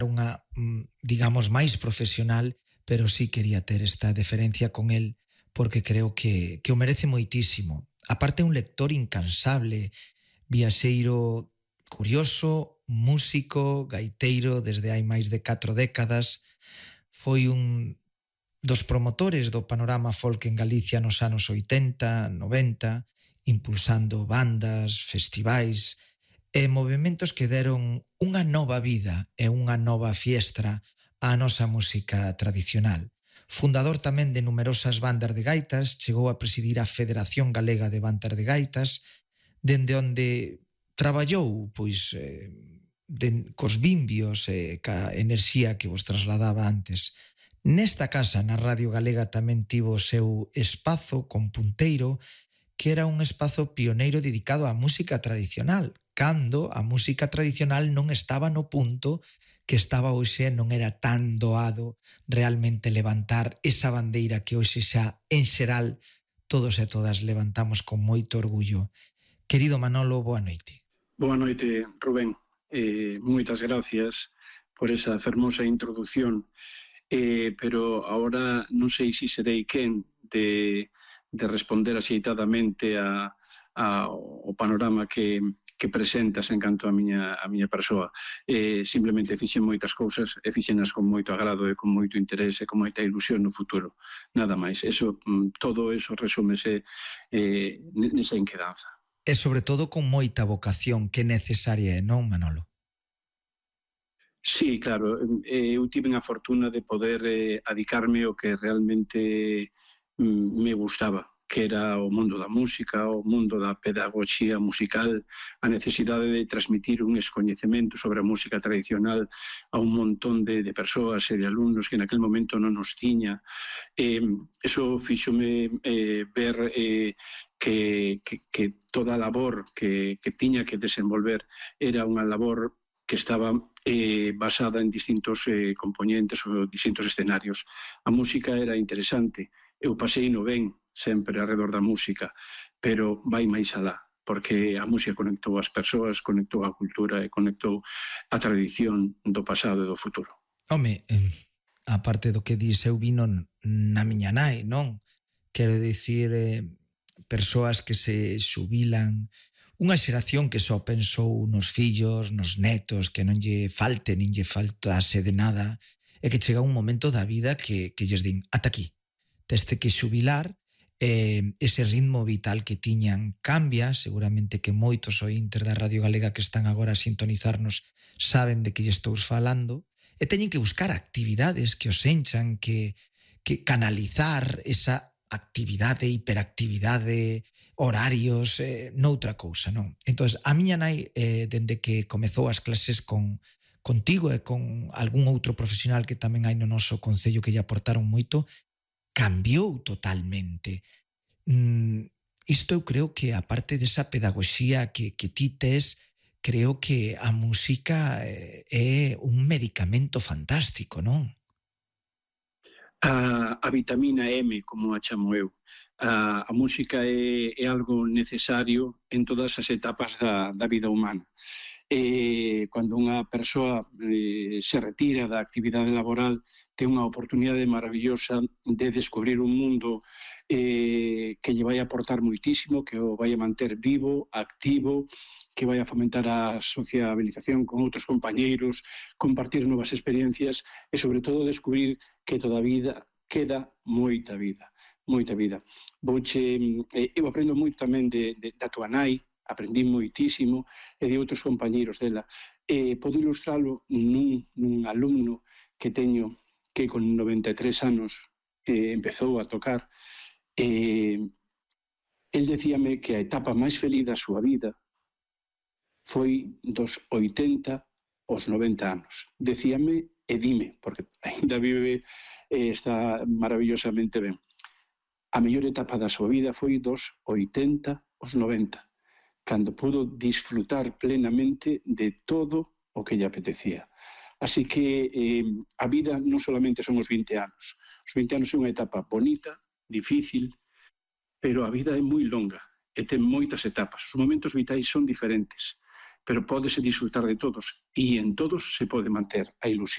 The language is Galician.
unha, digamos, máis profesional, pero sí quería ter esta deferencia con el porque creo que o merece moitísimo. Aparte, un lector incansable, viaxeiro curioso, músico, gaiteiro desde hai máis de 4 décadas. Foi un dos promotores do panorama folk en Galicia nos anos 80, 90, impulsando bandas, festivais e movementos que deron unha nova vida e unha nova fiestra á nosa música tradicional. Fundador tamén de numerosas bandas de gaitas, chegou a presidir a Federación Galega de Bandas de Gaitas, dende onde traballou pois, cos vimbios e ca enerxía que vos trasladaba antes. Nesta casa, na Radio Galega, tamén tivo o seu espazo con punteiro, que era un espazo pioneiro dedicado á música tradicional, cando a música tradicional non estaba no punto que estaba hoxe, non era tan doado realmente levantar esa bandeira que hoxe xa, en xeral, todos e todas levantamos con moito orgullo. Querido Manolo, boa noite. Boa noite, Rubén. Moitas gracias por esa fermosa introducción, pero ahora non sei se serei quen de responder axeitadamente ao panorama que presentas en canto a miña persoa. Simplemente fixen moitas cousas e fixenas con moito agrado e con moito interés e con moita ilusión no futuro. Nada máis. Todo eso resúmese nesa inquedanza. E sobre todo con moita vocación que necesaria é, non, Manolo? Sí, claro. Eu tive a fortuna de poder adicarme ao que realmente me gustaba, que era o mundo da música, o mundo da pedagogía musical, a necesidade de transmitir un escoñecemento sobre a música tradicional a un montón de persoas e de alumnos que naquel momento non nos tiña. Eso fíxome ver que toda a labor que tiña que desenvolver era unha labor que estaba basada en distintos componentes ou distintos escenarios. A música era interesante, eu pasei no ben sempre alrededor da música, pero vai máis alá, porque a música conectou as persoas, conectou a cultura e conectou a tradición do pasado e do futuro. Home, aparte do que dis, eu vino na miña nai, non? Quero dicir, persoas que se xubilan, unha xeración que só pensou nos fillos, nos netos, que non lle falte, nin lle faltase de nada, e que chega un momento da vida que lles din, ata aquí, teste que xubilar, ese ritmo vital que tiñan cambia, seguramente que moitos ointes da Radio Galega que están agora a sintonizarnos saben de que lle estou falando, e teñen que buscar actividades que os enchan, que canalizar esa actividade, hiperactividade, horarios, noutra cousa, non? Entón, a miña nai, dende que comezou as clases contigo e con algún outro profesional que tamén hai no noso concello que lle aportaron moito, cambiou totalmente. Isto eu creo que, aparte desa pedagogía que ti tes, creo que a música é un medicamento fantástico, non? A vitamina M, como a chamo eu. A música é algo necesario en todas as etapas da vida humana. Cando unha persoa se retira da actividade laboral, ten unha oportunidade maravillosa de descubrir un mundo que lle vai aportar moitísimo, que o vai a manter vivo, activo, que vai a fomentar a sociabilización con outros compañeiros, compartir novas experiencias e, sobre todo, descubrir que toda a vida queda moita vida, moita vida. Eu aprendo moito tamén da tua nai, aprendí moitísimo, e de outros compañeiros dela. Podo ilustralo nun alumno que teño que con 93 anos empezou a tocar. El decíame que a etapa máis feliz da súa vida foi dos 80 aos 90 anos. Decíame e dime, porque ainda vive e está maravillosamente ben. A mellor etapa da súa vida foi dos 80 aos 90, cando pudo disfrutar plenamente de todo o que lle apetecía. Así que a vida non solamente son os 20 anos. Os 20 anos é unha etapa bonita, difícil, pero a vida é moi longa e ten moitas etapas. Os momentos vitais son diferentes, pero pódese disfrutar de todos, e en todos se pode manter a ilusión